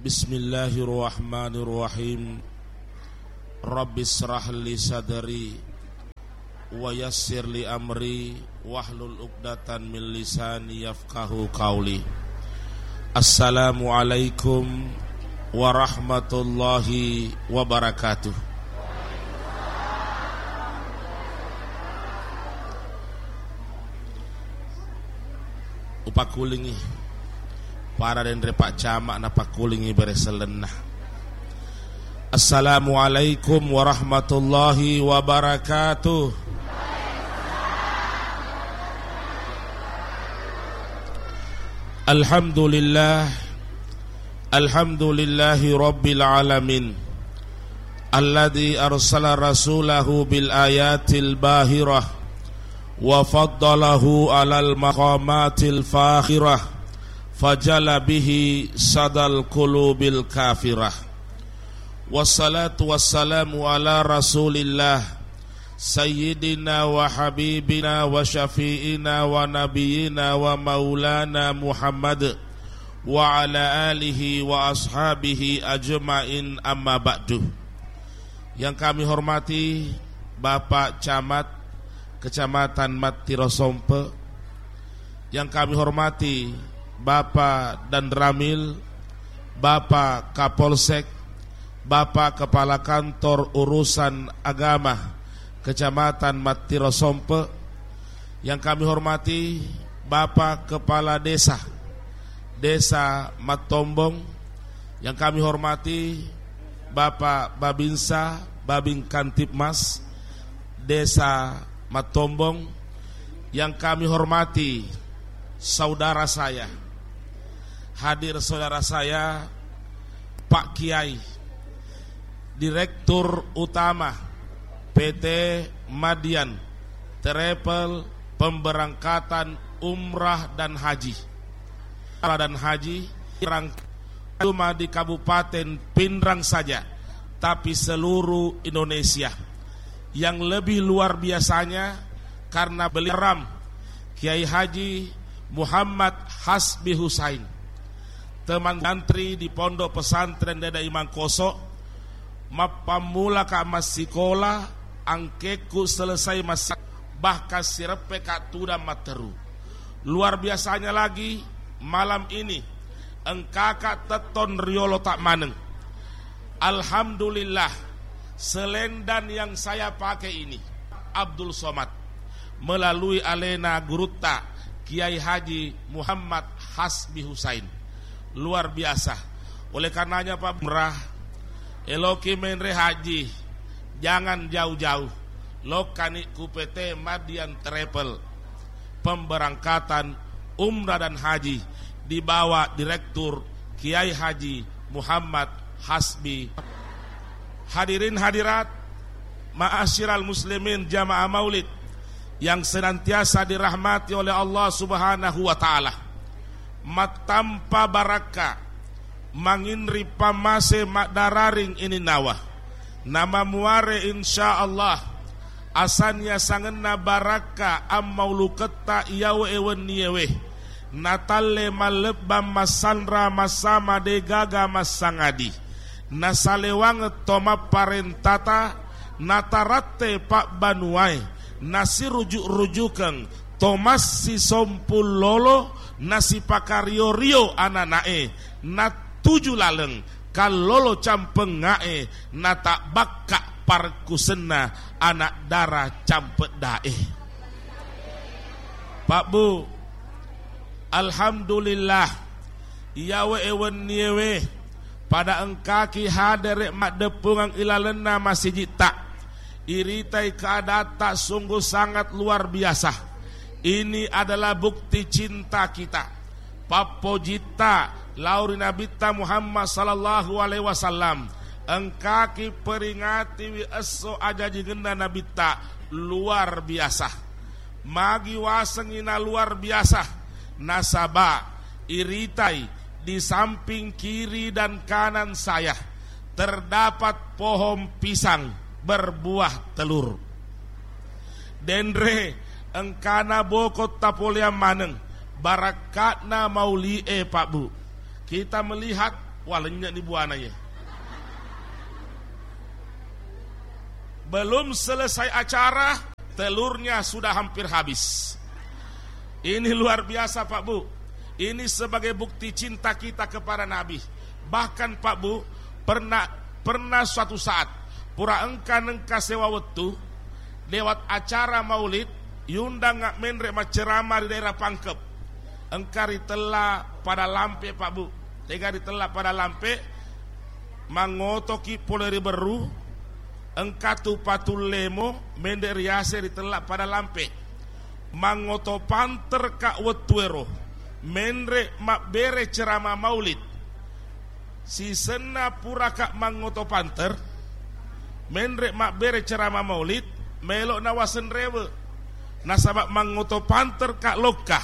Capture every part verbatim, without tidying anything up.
Bismillahirrahmanirrahim. Rabbisyrah li sadri wa yassir li amri wahlul uqdatan min lisani yafqahu qauli. Assalamualaikum warahmatullahi wabarakatuh. Upakkulingngi para denre Pak Camat, napakkulingngi bere sellenna. Assalamualaikum warahmatullahi wabarakatuh. Alhamdulillah. Alhamdulillahi rabbil alamin. Alladzi arsala rasulahu bil ayatil bahirah wa faddalahu alal maqamatil fakhirah, fajala bihi sadal qulubil kafirah. Wassalatu wassalamu ala Rasulillah, Sayyidina wa habibina wa syafi'ina wa nabiyina wa maulana Muhammad wa ala alihi wa ashabihi ajma'in, amma ba'du. Yang kami hormati Bapak Camat Kecamatan Mattiro Sompe, yang kami hormati Bapak Danramil, Bapak Kapolsek, Bapak Kepala Kantor Urusan Agama Kecamatan Mattiro Sompe, yang kami hormati Bapak Kepala Desa, Desa Mattombong, yang kami hormati Bapak Babinsa, Babin Kamtibmas, Desa Mattombong, yang kami hormati saudara saya, hadir saudara saya, Pak Kiai, Direktur Utama P T Madian Travel Pemberangkatan Umrah dan Haji. Umrah dan Haji, rang-, cuma di Kabupaten Pinrang saja, tapi seluruh Indonesia. Yang lebih luar biasanya, karena beliau ram Kiai Haji Muhammad Hasbi Husain, teman santri di Pondok Pesantren Dada Imangkoso, mappammulaka massikola, angkekku selesai mas-, bahkan sireppeka tudang matteru. Luar biasanya lagi, malam ini engkaka tettong riolota maneng. Alhamdulillah, selendang yang saya pakai ini, Abdul Somad, melalui alena gurutta Kiai Haji Muhammad Hasbi Husain. Luar biasa. Oleh karenanya, Pak Lurah, eloki menre haji, jangan jauh-jauh. Lokkani ku P T Madian Travel. Pemberangkatan umrah dan haji di bawah Direktur Kiai Haji Muhammad Hasbi. Hadirin hadirat, ma'asyiral muslimin jamaah maulid yang senantiasa dirahmati oleh Allah Subhanahu wa Ta'ala. Mattampa barakka manginri pammase maddararing ininnawa. Namamuare, insya Allah, asanna sangenna barakka ammauluketta iyawe wenniewe. Natalle mallebbang massanra massama degaga massangadi. Nasalewangeng to mapparentata, nataratte pabbanuae, nasirujuk-rujukeng to massisompung lolo, nasipakario-rio anana'e, natuju laleng kallolo campengnga'e, natabbakka parekkusenna anak dara campedda'e. Pak Bu, alhamdulillah, iyawe wenniewe pada engkaki hadere maddeppungeng ilalenna masijitta. Iritai keadatta sungguh sangat luar biasa. Ini adalah bukti cinta kita, pappojitta lao ri Nabitta Muhammad sallallahu alaihi wasallam. Engkaki peringatiwi esso ajajingenna Nabitta, luar biasa. Magi wasengngi na luar biasa? Nasaba iritai di samping kiri dan kanan saya terdapat pohon pisang berbuah telur. Denre engkana boko tapoleang maneng, barakka'na mauli'e, Pak Bu. Kita melihat Wah, lennye'ni buana ye. Belum selesai acara, telurnya sudah hampir habis. Ini luar biasa, Pak Bu. Ini sebagai bukti cinta kita kepada Nabi. Bahkan, Pak Bu, pernah, pernah suatu saat, pura engka nengka sewa wettu, lewat acara maulid, yundang menre macceramah di daerah Pangkep. Engka ritella pada lampe, Pak Bu. Tega ritella pada lampe, mangotoki pole ri Berru, engka tu Patullemo, menre riase ritella pada lampe. Mangoto panterka wettuero, menre mabbere ceramah maulid. Sisenna puraka mangoto panter, menre mabbere ceramah maulid, melo nawaseng rewe. Nasaba mangoto panterka lokka,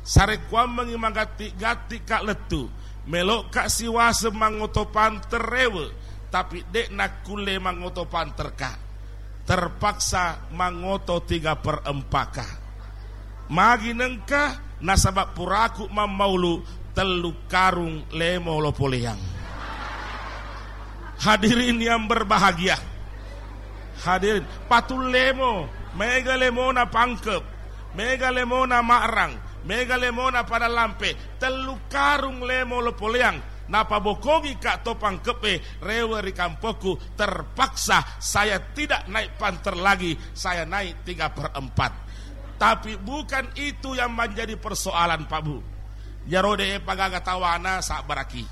sarekkuammengi magatti-gattika lettu, meloka siwaseng mangoto panter rewe, tapi de nakkulle mangoto panterka. Terpaksa mangoto tiga per empat ka. Magi nengka, nasaba puraku mammaulu tellu karung lemo lo poleang. Hadirin yang berbahagia. Hadirin, Patullemo, mega lemona Pangkep, mega lemona Ma'rang, mega lemona pada lampe, tellu karung lemo lo poleang. Napabokongi ka to Pangkepe, rewe ri kampokku, terpaksa saya tidak naik panter lagi, saya naik tiga per empat. Tapi bukan itu yang menjadi persoalan, Pak Bu. Jaro de pagaga tawana, sabbaraki.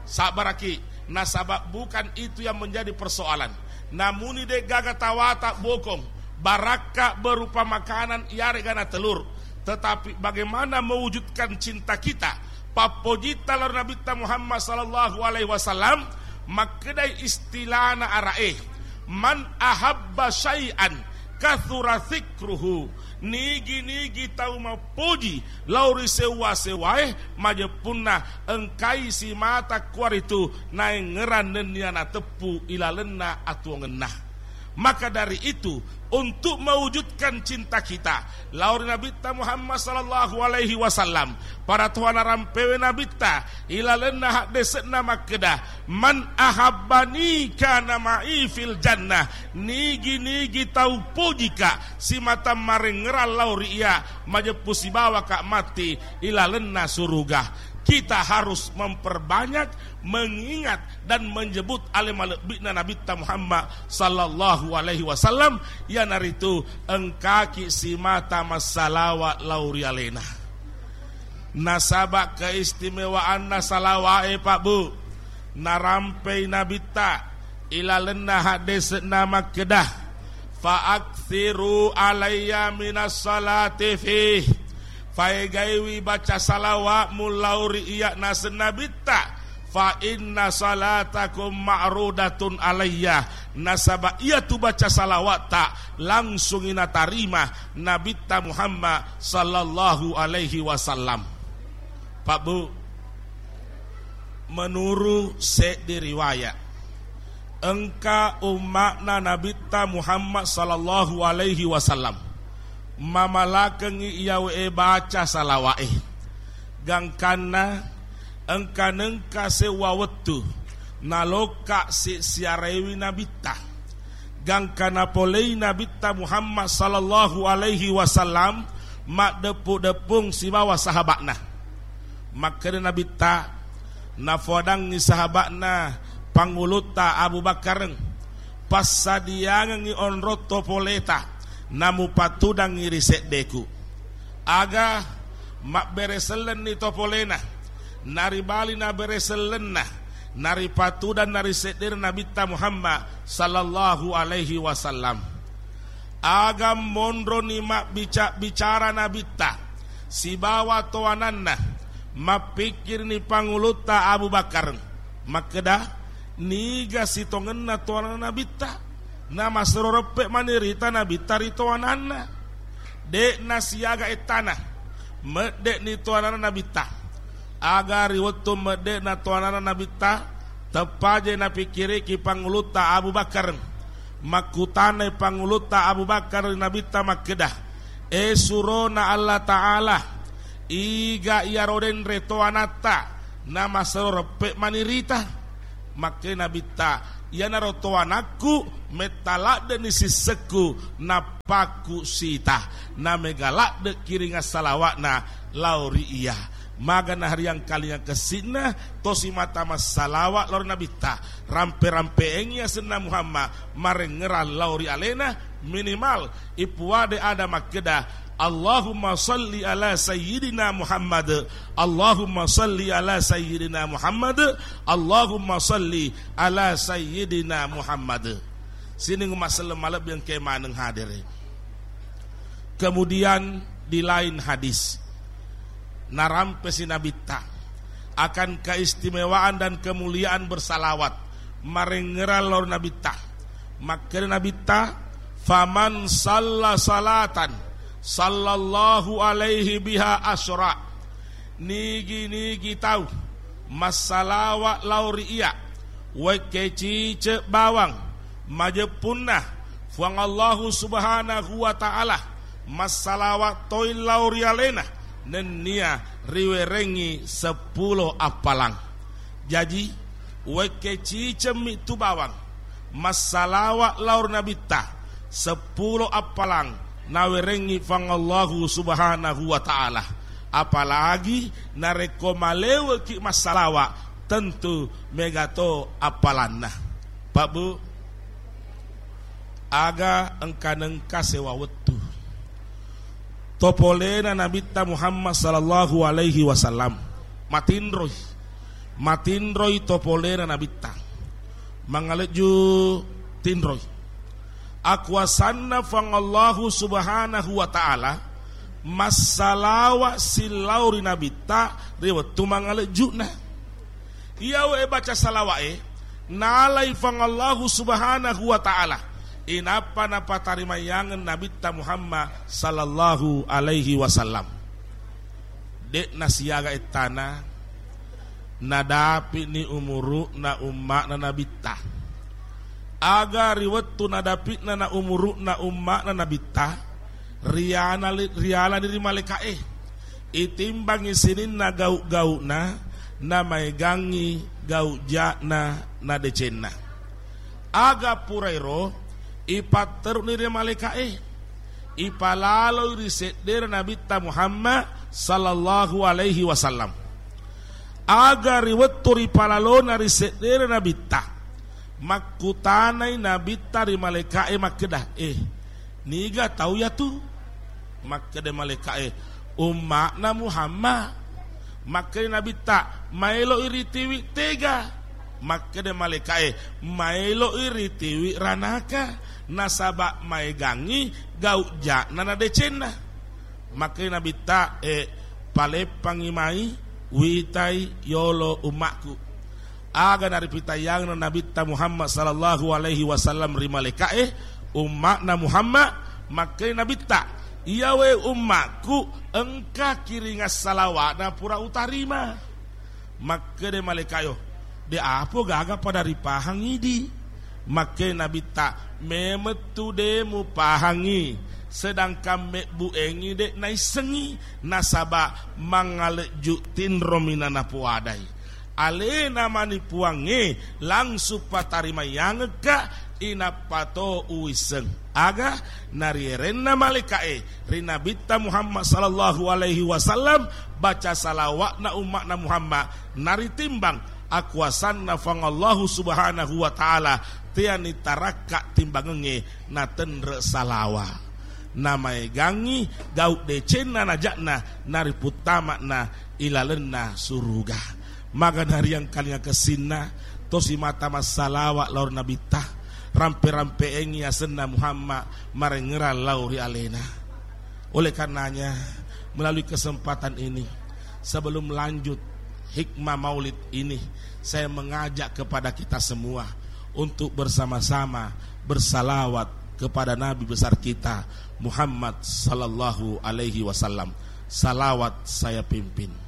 Sabbaraki. Nasaba bukan itu yang menjadi persoalan. Namuni de gaga tawata bokong, barakka berupa makanan iyarega na telur. Tetapi bagaimana mewujudkan cinta kita? Pappojitta lao ri Nabitta Muhammad sallallahu alaihi wasallam, makkedai istilana ara'e, "Man ahabba syai'an katsura dzikruhu." Nigi-nigi tau mappoji lao ri sewwa-sewwae, majeppunna engkai simata kuaritu naengngerang nennia nateppu ilalenna atuongenna. Maka dari itu, untuk mewujudkan cinta kita lao ri Nabitta Muhammad sallallahu alaihi wasallam, para toha narampewe Nabitta, ilalenna haddese'na makkeda, "Man ahabbani kana ma'i fil jannah." Nigi-nigi tau pojika simata marengngerang lao ri iya, majeppu sibawaka matti ilalenna suruga. Kita harus memperbanyak mengingat dan menyebut ale malebbi'na Nabitta Muhammad sallallahu alaihi wasallam, iyanaritu engkaki simata massalawa lao ri alena. Nasaba keistimewaanna salawae, Pak Bu, narampei Nabitta ilalenna haddese'na makkeda, "Fa aktsiru alayya minas salati fih." Faegaiwi baca salawa'mu lao ri iyya naseng Nabitta, "Fa inna salatakum ma'rudatun alayya." Nasaba iyatu baca salawatta langsungi natarima Nabitta Muhammad sallallahu alaihi wasallam. Pak Bu, menuru seddi riwaya, engka umma'na Nabitta Muhammad sallallahu alaihi wasallam mamalakengngi iyawe baca salawa'e. Gangkanna engka nengka sewwa wettu nalokka si-, siarewi Nabitta. Gangka napolei Nabitta Muhammad sallallahu alaihi wasallam maddeppu-deppung sibawa sahaba'na. Makkeda Nabitta, nafoadangngi sahaba'na pangulutta Abu Bakar, "Passadiangengngi onrong to poleta, namupatudangngi ri seddeku." Aga mabbere sellenni to polena, naribali nabere sellenna, naripatudang nariseddena Nabitta Muhammad sallallahu alaihi wasallam. Aga monroni mabbica-bicara Nabitta sibawa toananna, mappikkirini pangulutta Abu Bakar, makkeda, "Niga sitongenna toananna Nabitta?" Namasero reppe manirita Nabitta ri toananna. De'na siaga ettana, medde'ni toananna Nabitta. Aga ri wettu medde'na toananna Nabitta, teppaje napikkiriki pangulutta Abu Bakar. Makkutanai pangulutta Abu Bakar ri Nabitta makkeda, "E surona Allah Ta'ala, iga iyaro denre toanatta Namasero reppe' manirita. Makkeda Nabitta, "Iyanaro to anakku, metta ladde'ni sissekku, nappakku sita." Namega ladde' kiringa salawa'na lao ri iya. Maga nahariang kalinga kessinna, tosi mata massalawa' lao ri Nabitta. Rampe-rampe'engngi asenna Muhammad, marengngerang lao ri alena, minimal ipuade ada makkeda, "Allahumma salli ala sayyidina Muhammad, Allahumma salli ala sayyidina Muhammad, Allahumma salli ala sayyidina Muhammad." Sining umma selleng malebbi engkae maneng hadere. Kemudian di lain hadis, narampesi Nabitta akan keistimewaan dan kemuliaan bersalawat, marengngerang lao ri Nabitta. Makkeda Nabitta, "Faman salla salatan, sallallahu alaihi biha asyra." Nigi-nigi tau massalawa' lao ri iya, wekke cice' bawang, majeppunna Fuang Allahu Subhanahu wa Ta'ala, massalawa' toi lao ri alena, nennia riwerengngi seppulo appalang. Jaji, wekke cicemmi tu bawang, massalawa' lao ri Nabitta, seppulo appalang nawerengngi Fuang Allahu Subhanahu wa Ta'ala. Apalagi narekko maleweki massalawa', tentu mega to appalanna. Pak Bu, aga engka nengka sewa wettu. Topolena Nabitta Muhammad sallallahu alaihi wasallam matinroi. Matinroi topolena Nabitta. Mangalejju tinroi. Akuasanna Fuang Allahu Subhanahu wa Ta'ala massalawa' sillau ri Nabitta ri wettu mangalejju'na. Iyawe baca salawa'e, nalai Fuang Allahu Subhanahu wa Ta'ala, inappa napatarimayangeng Nabitta Muhammad sallallahu alaihi wasallam. De'na siaga ettana, nadapi'ni umuru'na umma'na Nabitta. Aga ri wettu nadapi'na na umuru'na umma'na Nabitta, riana-, rialani ri malaeka'e. Itimbangngi sininna gau'-gau'na, namaegangngi gau' ja'na na decenna. Aga purairo ipatteru'ni ri malaeka'e, ipalaloi ri seddena Nabitta Muhammad sallallahu alaihi wasallam. Aga ri wettu ripalalona ri seddena Nabitta, makkutanai Nabitta ri malaeka'e makkeda, "Eh, niga tau yatu?" Makkeda malaeka'e, "Umma'na Muhammad." Makkeda Nabitta, "Maeloi ritiwi tega?" Makkeda malaeka'e, "Maeloi ritiwi ranaka, nasaba maegangngi gau' ja'na na decenna." Makkeda Nabitta, "Eh, paleppangngi mai, witai yolo umma'ku." Aga naripitayangna Nabitta Muhammad sallallahu alaihi wasallam ri malaeka'e, "Umma'na Muhammad." Makkeda Nabitta, "Iyawe umma'ku, engka kiringa salawa'na pura utarima." Makkeda malaeka'e, "De' apo gaga pada ripahang idi." Makkeda Nabitta, "Memettu de' mupahangi, sedangkan mebbu'engngi de' naissengngi, nasaba mangalejju tinromi nanapoadai. Alena mani Puangnge langsung patarimayangekka, inappa to uwisseng." Aga narierenna malaeka'e ri Nabitta Muhammad sallallahu alaihi wasallam, baca salawa'na umma'na Muhammad, naritimbang akuasanna Fuang Allahu Subhanahu wa Ta'ala, teani tarakka timbangengnge, natenre salawa. Namaegangngi gau' decenna naja'na nariputtama'na ilalenna suruga. Maga nariangkalinga kessinna, tosi mata massalawa lao ri Nabitta, rampe-rampe'engngi asenna Muhammad, marengngerang lao ri alena. Oleh karenanya, melalui kesempatan ini, sebelum lanjut hikmah maulid ini, saya mengajak kepada kita semua untuk bersama-sama bersalawat kepada Nabi besar kita, Muhammad sallallahu alaihi wasallam. Salawat saya pimpin.